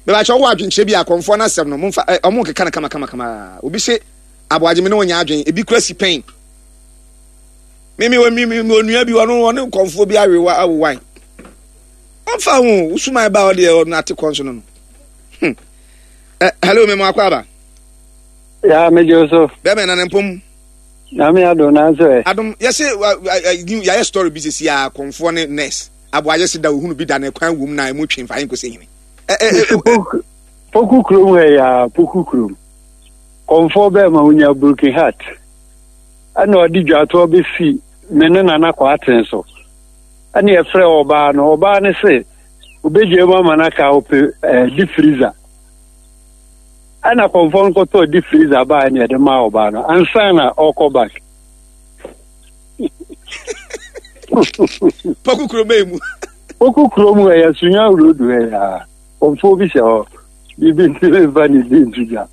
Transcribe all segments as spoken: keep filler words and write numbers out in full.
Bɛbɛkyɛ wowɔ adwenkyerɛ bi a akɔmfoɔ no asɛm no momfa ɛ, ɔmo nkeka no kama kama kama. Obi se aboagye me ne wɔnyɛ adwen, ebi kura si pɛn. Me me me me me onua bi, ɔno ɔne nkɔmfoɔ bi awewa awowan. Ɔmfa ho wosuman ba, ɔdeɛ ɔno ate kɔn so no no Hmm. Ɛ, hello, me mo akɔ aba. Ya, megye wo so. Bɛmɛ na ne mpom. Nyame adom, nanso ɛ. Adom yɛse wa- wa- ɛ, yɛayɛ story bi sisi a kɔmfoɔ ne nurse aboagye se da ohunu bi da ne kwan wom na emu twe mfa yɛnkɔsɛ hene. Ɛ, ɛ, ɛ, ɛ, Poku Poku kurom ha yi a, Poku kurom. Kɔmfoɔ bɛɛ ma wonya broken heart. Ɛna ɔde dwatoɔ bɛsi me ne Nana Kɔaten so. Ɛna yɛfrɛ ɔbaa no, ɔbaa no se obɛgye mu ama no aka ɔpɛ ɛɛ deep freezer. Ɛna kɔmfoɔ no kɔtɔɔ deep freezer baa, ɛna yɛde maa ɔbaa no ansa na ɔkɔ back. Poku kurom bɛyɛ mu. Poku kurom ha yɛ Sunya Road ha yi a, kɔmfoɔ bi hyɛ hɔ. Biribi nti memfa ne di nto dwa.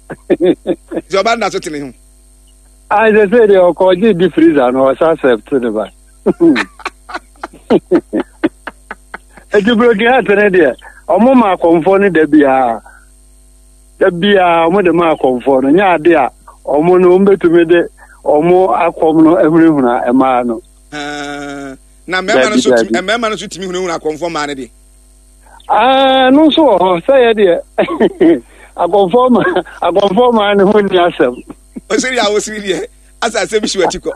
Nti ɔba no da so tene ho. Ah, sɛ sɛ deɛ ɔkɔgye deep freezer no, ɔsa accept ne ba. Eti broken heart ne deɛ, ɔmo ma akɔmfoɔ no da biara. Da biara ɔmo de ma akɔmfoɔ no, nyɛ ade a ɔmo no ɔmo betumi de ɔmo akɔm no ahunahuna mmaa no. Ah, na mmarima no Dabi, nso tumi dabi. Mmarima no nso tumi hunahuna akɔmfoɔ mmaa no deɛ. Ah, no nso wɔ hɔ sɛ yɛ deɛ akɔmfoɔ ma akɔmfoɔ maa ne ho nni asɛm. Ɔsiri a wosiri deɛ asa asɛm bi si w'akyi kɔ.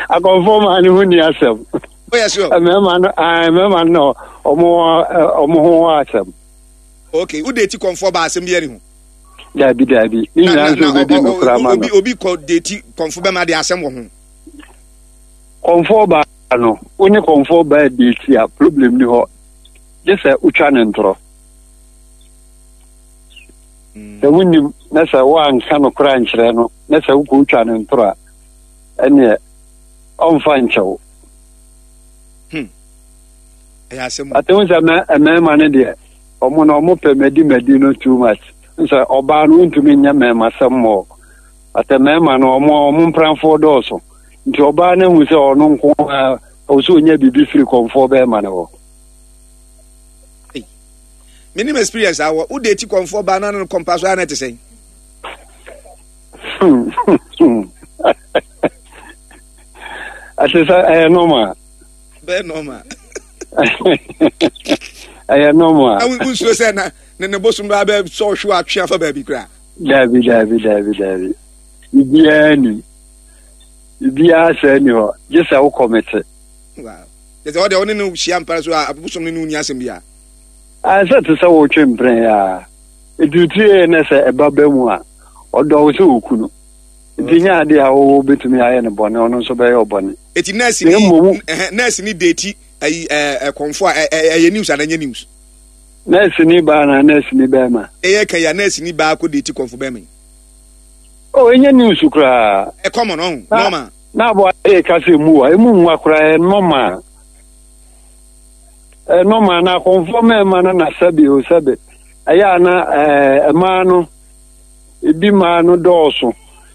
Akɔmfoɔ maa ne ho nni asɛm. Woyɛ sure? Mmarima no, ah, mmarima no na ɔmo ɔmo ho wɔ asɛm. Okay, wode eti kɔmfoɔ ba, asɛm bi ani ho? Dabi, dabi, ne na nyinaa na nso na obedi ɔ- ɔ- nokora ɔ- ma no. obi obi kɔ date kɔmfo bɛma de, asɛm wɔ ho? Kɔmfoɔ baa no, wo ne kɔmfoɔ baa date a, problem ni hɔ, gye sɛ wotwa ne ntorɔ. Sɛ wonim na sɛ woanka nokora nkyerɛ no na sɛ wokɔ wotwa ne ntorɔ a, ɛneɛ ɔmfa nkyɛw. Ɛyɛ asɛm o. Ate hu sɛ mɛ- mmarima no deɛ, ɔmo no ɔmo pɛ madi madi no too much. Sɛ ɔbaa no wontumi nyɛ mmarima sɛm mɔ ate, mmarima no ɔmo ɔmo mpramfoɔ dɔɔso, nti ɔbaa no hu sɛ ɔno nko ara ɔwɔ sɛ ɔnya biribi firi kɔmfoɔ bɛrima no hɔ. Menim experience awɔ wode eti kɔmfoɔ baa na no kɔmpa so a, na ɛte sɛn? Ɛte sɛ ɛyɛ normal. Bɛyɛ normal. Ɛyɛ normal. Na wo- wonsuro sɛ na ne ne bosom baa bɛ sɛ ɔhwe atwe afa baabi koraa? Dabi, dabi, dabi, dabi, biribiara nim, biribiara sɛ ni hɔ gye sɛ wokɔ mete. Wow, kyɛ sɛ ɔdeɛ ɔne no hyia mpara so a, bosom ne no nni asɛm biara. Sɛ te sɛ wotwe mpene a ɛtutuie ne sɛ ɛba ba mu a, ɔdɔ wo sɛ woku no, nti nyɛ ade a wowɔ bɛtumi ayɛ no bɔne, ɔno nso bɛyɛ ɔbɔne. Eti nurse Na ni mmom ɛhɛn, nurse ni date ayi ɛɛ ɛkɔmfo a, ɛ- ɛ- ɛyɛ news ana ɛnyɛ news? Nurse ni baa na nurse ni bɛrima? Ɛyɛ ka yi a, nurse ni baa kɔ date kɔmfo bɛrima yi. O, ɛnyɛ news koraa. Ɛ common ɔho Na- normal. Na aboa de ka sɛ mu a ɛmu nwa koraa, ɛyɛ normal, ɛyɛ normal. Na akɔmfoɔ mmarima no na sɛbe o sɛbe, ɛyɛ a na ɛɛ mmaa no ebi mmaa no dɔɔso,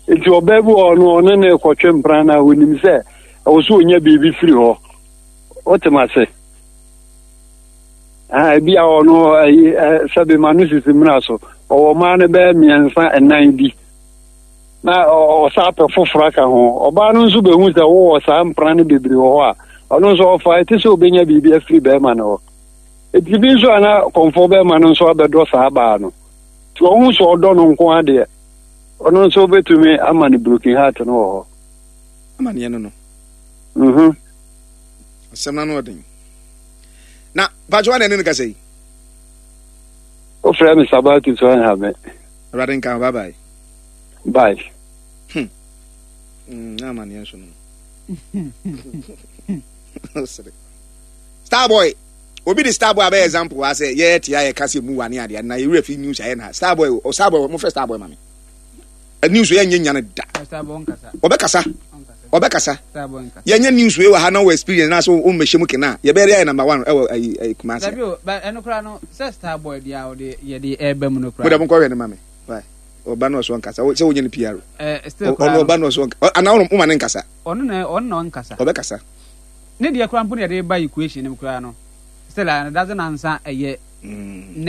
nti ɔbaa bi wɔ hɔ no, ɔne ne kɔtwe mpena na onim sɛ ɛwɔ so onya biribi firi hɔ, wote ma se ah, ebi a ɔno ɛyi ɛ sɛbe ma no sisi mmira so, ɔwɔ mmaa no bɛyɛ mmiɛnsa ɛnan bi na ɔ- ɔsa apɛ foforɔ aka ho. Ɔbaa no nso bɛhu sɛ wowɔ saa mpena no bebree wɔ hɔ a, ɔno nso ɔfa ɛte sɛ obɛnya biribi afiri bɛrima no hɔ. Eti bi nso a na kɔmfoɔ bɛrima no nso abɛdɔ saa baa no, nti ɔho sɛ ɔdɔ no nko adeɛ, ɔno nso bɛtumi ama no broken heart no wɔ hɔ. Amaneɛ no no Mhm. Asɛm no ano ɔden na patro wa na ɛne no kasa yi. Wofrɛ me Sabatu so ɛnha me. Awurade nka ho, bye bye. Bye. Mm, na amaneɛ nso no. Sere. Starboy, obi de Starboy abɛyɛ example wa sɛ yɛyɛ tia yɛka sɛ mu wa ne adeɛ na yɛwerɛ fi news ayɛ na Starboy o, Starboy, mofrɛ Starboy ma me. Ɛ, news yɛnyɛ nya no da. Ɔbɛkasa, ɔbɛkasa. Yɛnyɛ news wei wɔ ha na wɔ experience na so wommɛhyɛ mu kena a, yɛbɛyɛ de ayɛ number one ɛwɔ ayi ayi Kumase. Dabi o, ba ɛno koraa no sɛ Starboy deɛ a ɔde yɛde ɛɛba mu no mo dɛ koraa. Monkɔhwɛ no ma me. Why? Ɔba no ɔso ɔnkasa. Wo- sɛ wonyɛ no P R. Ɛɛ, still ɔno koraa no ɔba no ɔso ɔnka anaa wo woma ne nkasa? Ɔno na ɔno na ɔnkasa. Ɔbɛkasa. Ne deɛ koraa mpo na yɛde ba equation no mu koraa no, still a doesn't answer ɛyɛ Mm. nurse.